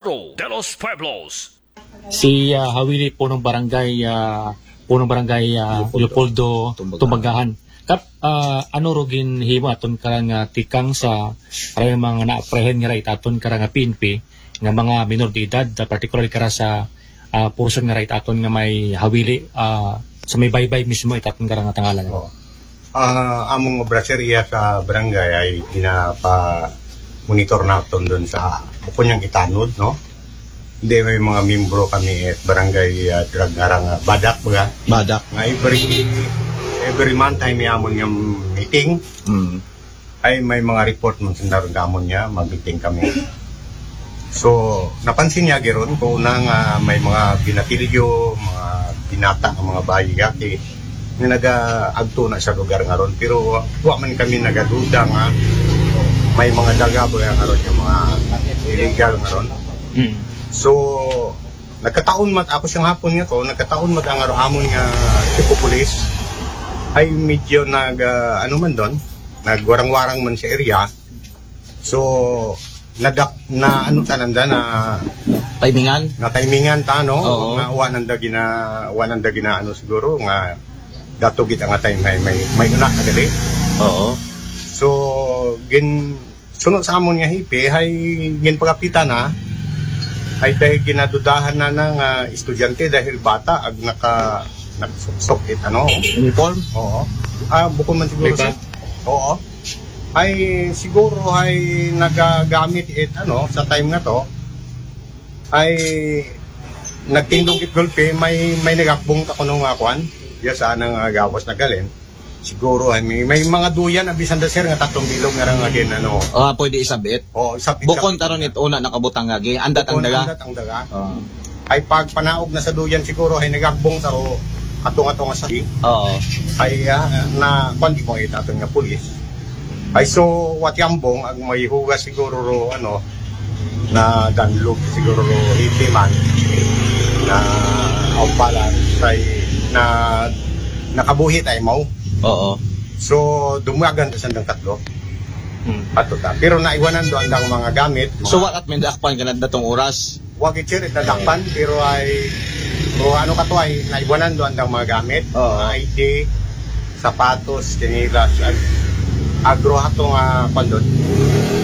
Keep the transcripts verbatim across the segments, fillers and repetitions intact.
Pro de los Pueblos. Si ah, Hawili, punong barangay, ah, punong barangay ah, Leopoldo. Leopoldo Tumbagahan. Tumbagahan. Kap, ah, ano ro ginhimo aton karang ah, tikang sa karang mga naaprehen nga ra it aton karang ah, P N P nga mga minor de edad, ah, particularly kara sa ah, portion nga ra it aton nga may Hawili, ah, sa may baybay mismo it aton karang ah, Tangalan. Oo. Ah, among obra, sir, iya sa barangay ay ginapa-monitor naton dun sa bukon niyang itanod, no? Hindi, may mga membro kami at barangay ah, drug nga ra nga badak, baga. Badak. Nga every, every month ay may amon nga meeting. Mm. Ay may mga report man sanda ron gamon niya, mag-meeting kami. So, napansin niya giron ko una nga may mga binatilyo, mga binata nga mga bayi gati nga nagaagto na sa lugar nga ron. Pero wa, wa man kami nagaduda nga may mga daga ba nga ron, yung mga illegal nga ron. Mm. So, nagkataon mat ako siyang hapon nga to, nagkataon mat ang aro amon nga tipo pulis ay medyo nag ah, ano man doon, nagwarang-warang man sa area. So, nadak na ano ta nanda na Timingan? Na timingan ta, no? Oo. Na wa nanda gina wa nanda gina ano siguro nga dato gid nga time may may may una kadali. Oo. So, gin suno sa amon nga hipi hay ginpagapita na ay dahil ginadudahan na ng ah, estudyante dahil bata ag naka nakasuksok it ano. Uniform? Oo. Ah, bukod man siguro May sa bag? Oo. Ay siguro ay nagagamit it ano sa time nga to ay nagtindog it gulpi, may may nagakbong ta kuno nga kwan. Diya sa anang ah, gawas na galin. Siguro ay may, may mga duyan a bisan da, sir, nga tatlong bilog nga ra nga gin ano. Ah, pwede isabit. Oo, isabit. Bukon ta ron it una nakabutang nga gi. Andat ang Bukon daga. Andat ang daga. Oo. Ay pagpanaog na sa duyan siguro ay nagakbong sa ro atong atong sa Oo. Ay ah, na kwan di mo itaton nga pulis. Ay so what yambong ang may hugas siguro ro ano na danlog siguro ro hindi man na aupalan say na nakabuhi tayo mo. Oo. So, dumagan ta sandang tatlo. Hmm. Ato ta. Pero naiwanan do andang mga gamit. So, Mga what at may dakpan ka na datong oras? Wag it sir, itadakpan, pero ay, o ano ka to ay, naiwanan do andang mga gamit. Oo. Mga I D, sapatos, tsinelas, ag agro hato nga pandon.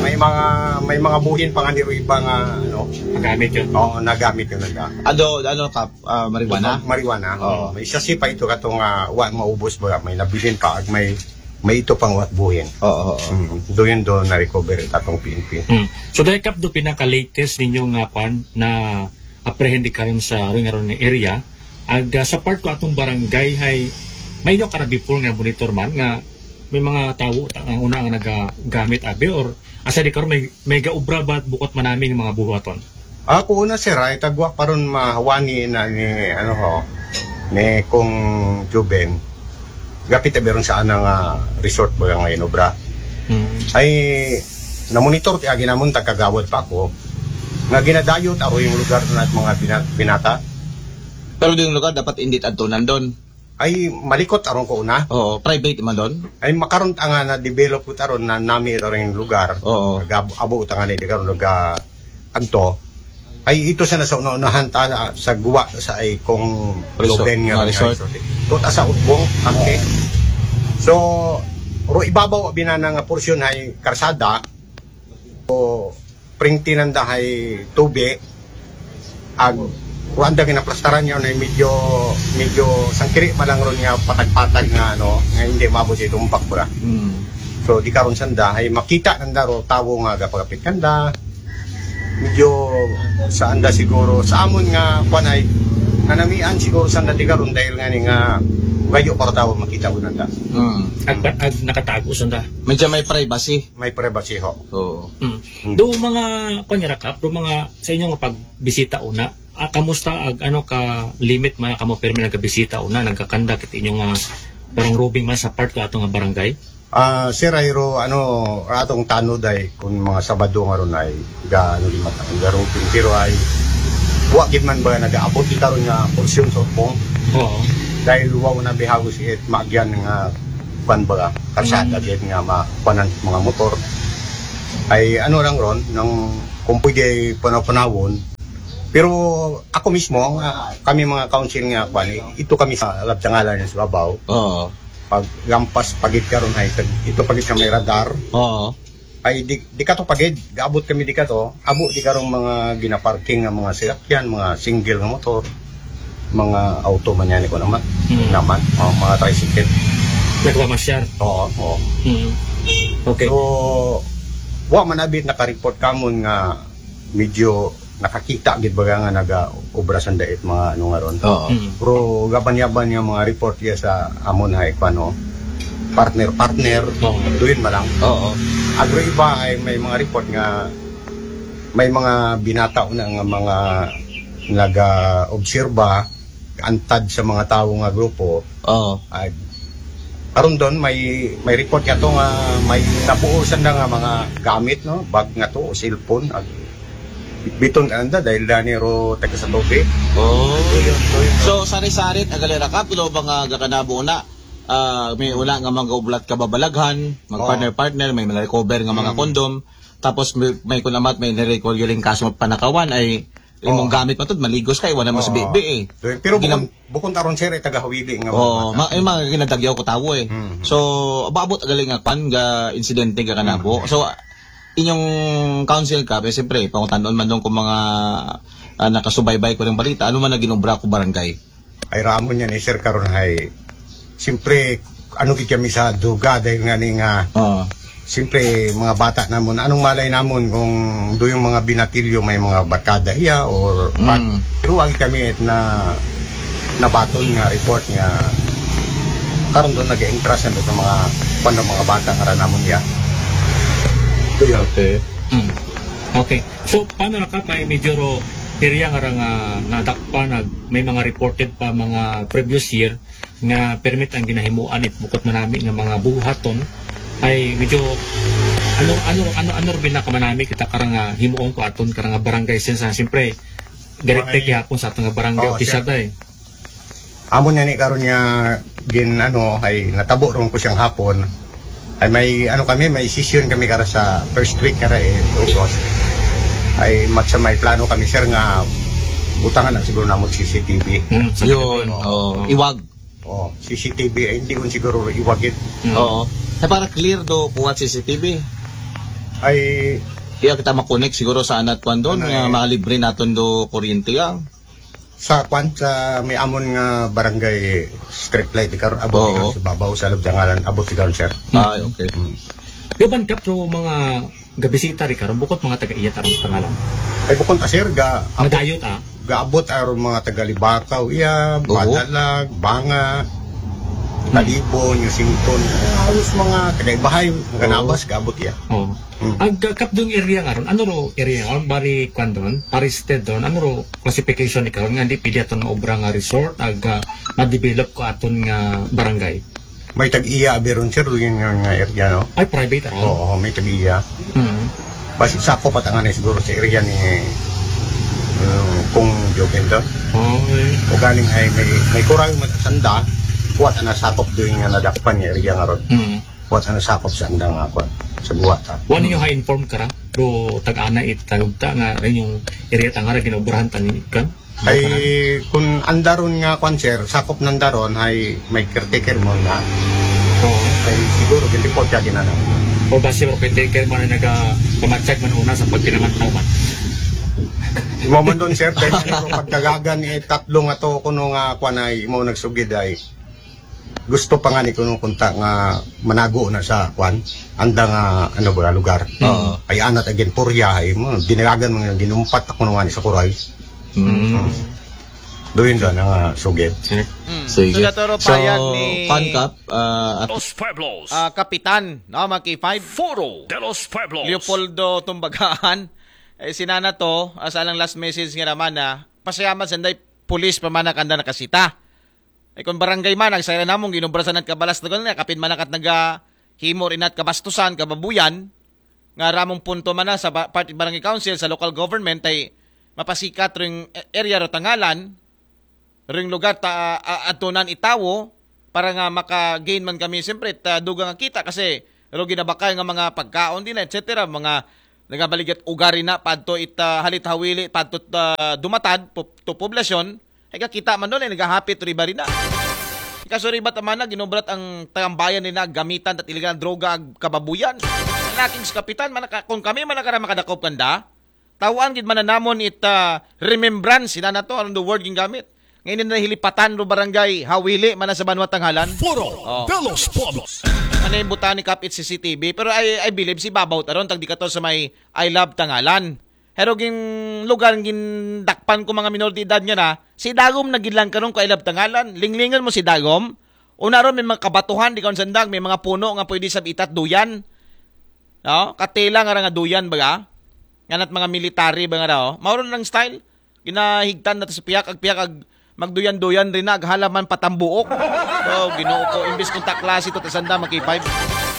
May mga may mga buhin pa nga niro iba nga ano. Nagamit yun. Oo, nagamit yun nanda. Ado, ano ka, ah, marijuana? Marijuana. Oo. May sasi pa ito katong ah, wa maubos ba may nabilin pa ag may may ito pang wa buhin. Oo, oo. Mm. Do yun do na-recover it atong P N P. Mm. So dahil kap do pinaka-latest ninyo nga kwan na apprehend karon sa ring aron area, ag ah, sa part ko atong barangay hay may nyo ka na before nga monitor man nga may mga tawo ta, ang una nga nagagamit abi or asa di karon may may gaubra ba bukot manami ng mga buhaton? Ako una sir ay tagwa pa ron mahawani na ni ano ho ni kung Juben gapit abi ron sa anang ah, resort ba nga inobra. Hmm. Ay namonitor ti agi namon tagkagawad pa ako nga ginadayo ta yung lugar na mga bina- binata. Pero yung lugar dapat hindi adto nandun. Ay malikot aron ko una. Oo, private man doon. Ay makaron ta nga na-develop ko taron na nami ito rin lugar. Oo. Nag-abo ta nga na di karon nag agto. Ay ito sa nasa una-unahan ta sa guwa sa ay kung Resort, Loben nga mga rin resort. Resort. Ito ta sa Utbong, Kante. So, ro ibabaw binana nga porsyon ay karsada. O pringti nanda hay tubi ag kuan da ginaplastaran niya na medyo medyo sangkiri pa lang ron nga patag-patag nga ano nga hindi maabot sa itumbak pura. Hmm. So di karon sanda ay makita nanda ro tawo nga gapagapit kanda medyo sa anda siguro sa amon nga kuan ay nanamian siguro sanda di karon dahil nga ni nga gayo para tawo makita ko nanda. Hmm. Ag, ag nakatago sanda. Medyo may privacy. May privacy ho. Oo. Mm. Do mga pangirakap, do mga sa inyong pagbisita una, ah, kamusta ag ano ka limit man kamo permi nagabisita una, nagkakanda kit inyong ah, parang roving man sa part ko ato nga barangay? Ah, sir, ay ro, ano, atong tanod ay kung mga Sabado nga ron ay ga ano di mata ang garopin pero ay wa gid man ba nagaabot di karon nga porsyon sa Utbong Oo. Dahil wa na bihagos it maagyan nga kwan ba karsada gid nga makuanan mga motor ay ano lang ron nang Kung pwede panaw-panawon. Pero ako mismo, nga, kami mga council nga, kwan, ito kami sa Labdangalan sa Babaw. Oo. Pag lampas pagid karon ay, ito pagid sa may radar. Oo. Ay, di, di ka to pagid, gaabot kami di ka to. Abo di karong mga ginaparking nga mga sasakyan, mga single nga motor, mga auto man yan, ko naman. Hmm. Naman, o, mga tricycle. Nagpamasyar. Oo, oo. Hmm. Okay. So, wa man abit naka-report kamon nga medyo nakakita gid baga nga naga-obra sa dait mga ano nga ron. Oo. Mm. Pero gaban-yaban nga mga report iya sa amon hay, kwan, no, partner-partner, Oo. duyon man lang. Oo. Agro iba ay may mga report nga may mga binata na nga mga naga-obserba, antad sa mga tawo nga grupo. Oo. Ay, karon doon may, may report nga to nga may nabuo sa nga mga gamit, no? Bag nga to, o cellphone. Ag, biton ka nanda dahil dani ro taga sa tubig. Oh. So, sari-sari, agalera ka, pero ba nga gakanabo na, ah, may una nga mga oblat ka babalaghan, mag Oo. partner-partner, may mga recover nga mga Mm. kondom, tapos may, may kunamat, may nirecord yung kaso panakawan ay imong Oo. gamit pa to, maligos kay wala mas Oo. bibi eh. Pero bukon, Ginam- bukon taron, sir, ay taga Hawili nga Oo, mga bata. ma-, yung mga ginadagyaw ko tawo eh. Mm. So, abot galing nga kwan, ga insidente ga kanabo. Mm. So, inyong council ka, pero siyempre, pangutanon man doon kung mga, ah, nakasubaybay ko ng balita, ano man na ginobra ko barangay? Ay, ramon yan eh, sir, karon hay. Siyempre, ano gid kami sa duga dahil nga ni nga, Oo. siyempre, mga bata namon, anong malay namon kung do yung mga binatilyo may mga barkada iya or Mm. pero wag kami na nabaton nga report nga karon doon nag-entra sa mga, kuwan, mga bata nga ra namon iya. Ito yun. Okay. Mm. Okay. So, paano na ka pa, medyo ro, area nga ra nga nadakpan, nag-, may mga reported pa mga previous year nga permit ang ginahimuan it bukod manami nga mga buhaton ay medyo ano, ano, ano, ano rin na kamanami kita karang, ah, himuon ko aton karang, ah, barangay sense, ah, siyempre, direct Ay. kihapon sa atong barangay Oo, official sir. Tayo. Amo na ni karon nga gin, ano, ay natabo ron ko siyang hapon. Ay may, ano kami, may session kami kara sa first week kara eh, August. Ay mat sa may plano kami, sir, nga butangan na siguro namon C C T V. Hmm, sa Yun, Pilipinas. Oo. Iwag. Oh, C C T V, ay hindi ko siguro iwagit. Hmm. Oo. Ay para clear do kuwat C C T V. Ay Iya kita makonek siguro sa anat kwan doon, Ano nga eh? Mga libre naton do kuryente, ah. Sa kwan, sa may amon nga barangay street light, di karon abot Oo. di karon sa babaw, sa Labdangalan, abot di karon, sir. Ay, okay. Mm. Gaban kap to mga gabisita di karon, bukod mga taga-iya tarong pangalan. Ay, bukod ta, sir, ga-, abot, Madayot, ah. Gaabot aron mga taga Libakaw, iya, Oo. Badalag, Banga, Mm. Talibon, Yusington, halos mga taga-ibahay, mga Oo. Nabas, gaabot iya. Oo. Mm. Ag, uh, kapdong area nga ron, ano ro area nga ron? Bari, kwan doon? Paristed doon? Ano ro classification ni karon nga hindi pwede aton maobra nga resort, ag, uh, ma-develop ko aton nga barangay? May tag-iya, abi ron, sir, yun yung nga area, no? Ay, private, ah? Oo, may tag-iya. Mm. Basi sakop at ang anay siguro sa area ni, uh, kung Joe Kendon. Okay. O galing ay may, may kural, may sanda, kuwat na sakop doon nga nadakpan nga area nga ron. Mm. Kuwat na sakop sa andang nga kuwan, sa buwat, ah. Wala ninyo ha-inform kara? Do tag-ana it tagugta nga rin yung area tangara ginobrahan tani kan? Ay, kung andaron nga kuwan, sir, sakop nandaron, ay may caretaker mo na. Oo. Ay, siguro, hindi po siya ginana. O basi mo caretaker mo na naga-, pamatsag man una sa pagpinamantaw man. Imo man doon, sir, dahil ano, pagdagagan, eh, tatlo nga to, kuno nga kuwan ay, imo nagsugid ay, gusto pa nga ni kuno kunta nga manago na sa kuwan, anda nga, ano ba, lugar. Oo. Ay, anat again, purya, ay mo, dinagan mo nga ginumpat ako nga ni sa kuray. Mm. Doon doon, ang, ah, sugit. Mm. Sige. So, naturo So, payag ni Pankap, ah, at Los Pueblos. Ah, Kapitan, no, mga K five? Foro de los Pueblos. Leopoldo Tumbagaan. Eh, sinana to, ah, sa alang last message nga naman na, pasayamat sa nday pulis pa man nakanda nakasita. Ay, kung barangay man, nagsaya namong ginubra sa nagkabalas na gano'n, kapin man nakat naga himo rin at kabastusan, kababuyan, nga ramong punto man na sa ba-, part barangay council, sa local government, ay mapasikat ring area ro tangalan, ring lugar ta, a-, atunan itawo, para nga maka-gain man kami, siyempre, ta, dugang nga kita, kasi ro ginabakal nga mga pagkaon din, et cetera, mga Nagabaligat ugari na padto ita halit hawili padto ta dumatad po, to poblasyon. Ay kakita man doon ay nagahapit riba rin na. Ikasuribat naman na ginobrat ang tambayan nila gamitan at iligal droga ag kababuyan. Ang aking sa kapitan, manaka, kung kami manakara makadakop kanda, tawaan gid man na namon it ah, remembrance sila na to, anong the word gingamit. Ngayon na hilipatan ro barangay Hawili man sa Banwa Tanghalan. Foro Oh. de los Pueblos. Ano yung buta ni Kapit C C T V? Pero I, I believe si Babaw taron tag di ka to sa may I Love Tanghalan. Pero ging lugar gindakpan ko mga minor de edad nga na, si Dagom na gid lang karon ko I Love Tanghalan. Linglingan mo si Dagom. Una ron may mga kabatuhan di karon sandag, may mga puno nga pwede sa itat duyan. No? Katela nga ra nga duyan baga. Nganat mga military ba nga ra, oh. Mao ron ang style. Ginahigtan na to sa piyak, ag piyak, ag magduyan-duyan rin na, ag halaman patambuok. Oh, Ginoo ko, imbis kung taklase to, tasanda, mag-K five.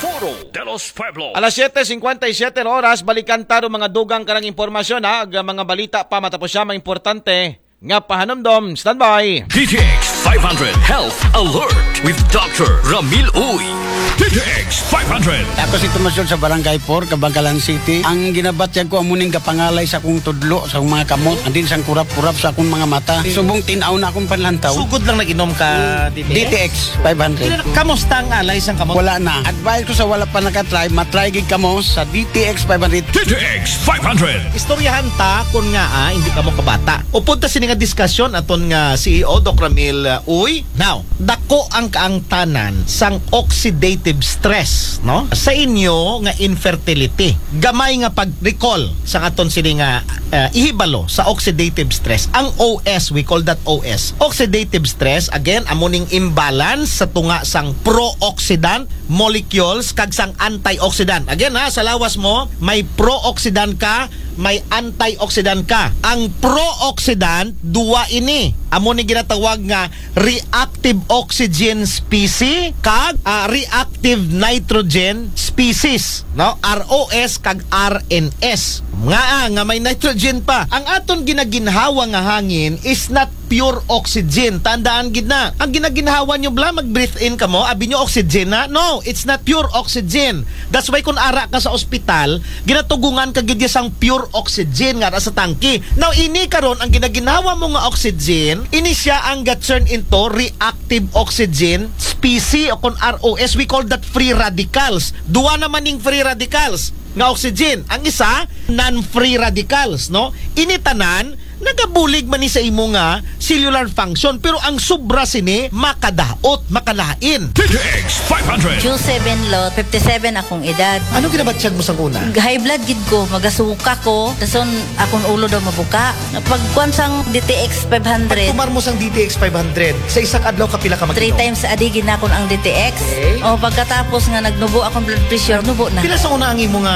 Foro de los Pueblos. Alas siyete cincuenta y siete na oras, balikan taro mga dugang karang impormasyon, ha, ag mga balita pa matapos siya, mga importante nga pahanumdom. Standby. D T X five hundred Health Alert with Doctor Ramil Uy. D T X five hundred. Ako si Tomas Yun sa Barangay four, Kabangkalan City. Ang ginabatyag ko, amuning gapangalay sa akong tudlo, sa akong mga kamot, andin sang kurap-kurap sa akong mga mata. Subong tinaw na akong panlantaw. Sugod lang nag-inom ka, D T X? D T X five hundred. Kamusta ang alay sang kamot? Wala na. Advice ko sa wala pa nakatry, matry gid kamo sa D T X five hundred. D T X five hundred. Istoryahan ta kung nga, ah, hindi kamo kabata. Upod ta sini nga diskusyon aton nga C E O, Doc Ramil, uh, Uy. Now, dako ang kaangtanan sang oxidative stress, no? Sa inyo nga infertility. Gamay nga pag-recall sa aton sini nga, uh, ihibalo sa oxidative stress. Ang O S, we call that O S. Oxidative stress, again, amo ning imbalance sa tunga sang pro-oxidant molecules kag sang antioxidant. Again ha, sa lawas mo, may pro-oxidant ka, may antioxidant ka. Ang pro-oxidant, duwa ini. Amo ni ginatawag nga reactive oxygen species kag, ah, reactive nitrogen species, no? R O S kag R N S. Nga, ah, nga may nitrogen pa. Ang aton ginaginhawa nga hangin is not pure oxygen. Tandaan gid na. Ang ginaginhawa nyo bla, mag-breathe in kamo, abi nyo oxygen na? No, it's not pure oxygen. That's why kung ara ka sa ospital, ginatugungan ka gid sang pure oxygen nga ara sa tangke. Now, ini karon ang ginaginhawa mo nga oxygen, ini siya ang ga-turn into reactive oxygen species o kung R O S, we call that free radicals. Duwa naman ning free radicals nga oxygen. Ang isa, non-free radicals, no? Ini tanan, nagabulig man ni sa imo nga cellular function, pero ang sobra sini makadaot, makalain. D T X five hundred. Q seven lot, fifty-seven akong edad. Ano ginabatyag mo sa una? High blood gid ko, magasuka ko, dason akong ulo daw mabuka. Pagkuan sang D T X five hundred. Pagtumar mo sang D T X five hundred, sa isa ka adlaw kapila ka mag-inom? Three times a day ginakon ang D T X. Okay. O, pagkatapos nga nagnubo akong blood pressure, nubo na. Pila sa una ang imo nga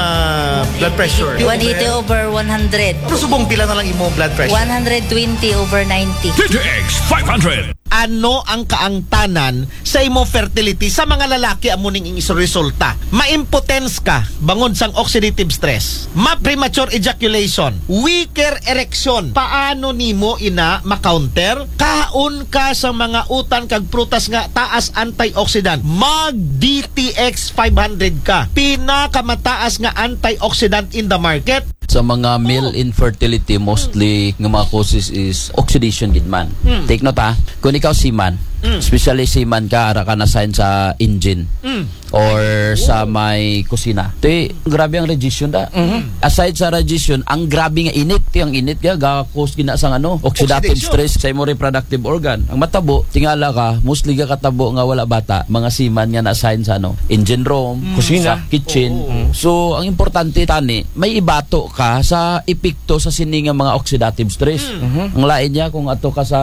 blood pressure? One eighty over one hundred. Pero subong pila na lang imo blood pressure? One hundred twenty over ninety. D T X five hundred. Ano ang kaangtanan sa imo fertility? Sa mga lalaki, amo ning ing resulta. Ma-impotence ka bangod sang oxidative stress. Ma-premature ejaculation. Weaker erection. Paano nimo ina ma-counter? Kaon ka sa mga utan kag prutas nga taas antioxidant. Mag D T X five hundred ka. Pinakamataas nga antioxidant in the market. Sa mga male infertility, mostly nga mga causes is oxidation gid man. Mm. Take note ha, kung ikaw seaman, Mm. especially seaman ka, ara ka na sign sa engine Mm. or sa may kusina. Ti, grabe ang radiation da. Mhm. Aside sa radiation, ang grabe nga init, ti ang init ga, ga-cause gina sang ano, oxidative Oxidation. stress sa imong reproductive organ. Ang matabo, tingala ka, mostly ga katabo nga wala bata, mga seaman nga na-assign sa ano, engine room, Kusina. sa kitchen. Oo. So, ang importante tani, may ibato ka sa epekto sa sini nga mga oxidative stress. Mm. Mhm. Ang lain niya kung ato ka sa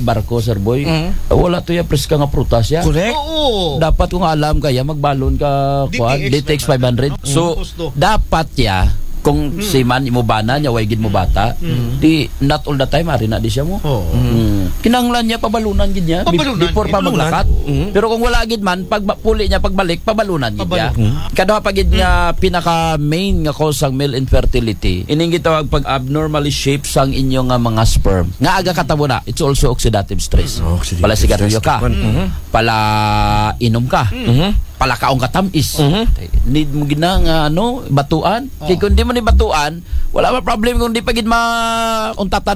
barko, Sir Boy, Mm. wala to ya preska nga prutas ya. Correct. Oo. Dapat kung alam ka ya, magbalon ka, kuan, D T X D T X five hundred. five hundred. So, Gusto. dapat ya, kung Mm. seaman, imo bana niya, way gid mo bata, Mm. di, not all the time, ari na di siya mo. Oo. Mm. Kinahanglan niya, pabalunan gid niya, be-, Pabalunan, before pa pabalunan. maglakat. Mm. Pero kung wala gid man, pag ba-, puli niya, pagbalik, pabalunan gid niya. Pabalunan. Kaduha pa gid nga pinaka main nga cause sang male infertility, ining gitawag pag abnormally shape sang inyo nga mga sperm. Nga aga katabo na, it's also oxidative stress. Mm. Oxidative Pala sigarilyo stress. ka. Mm. Mhm. Pala inom ka. Mhm. palakaong katamis. Mhm. Need mo gina nga ano, batuan. Oh. Kay kung di mo ni batuan, wala ba problem kung di pa gid ma untatan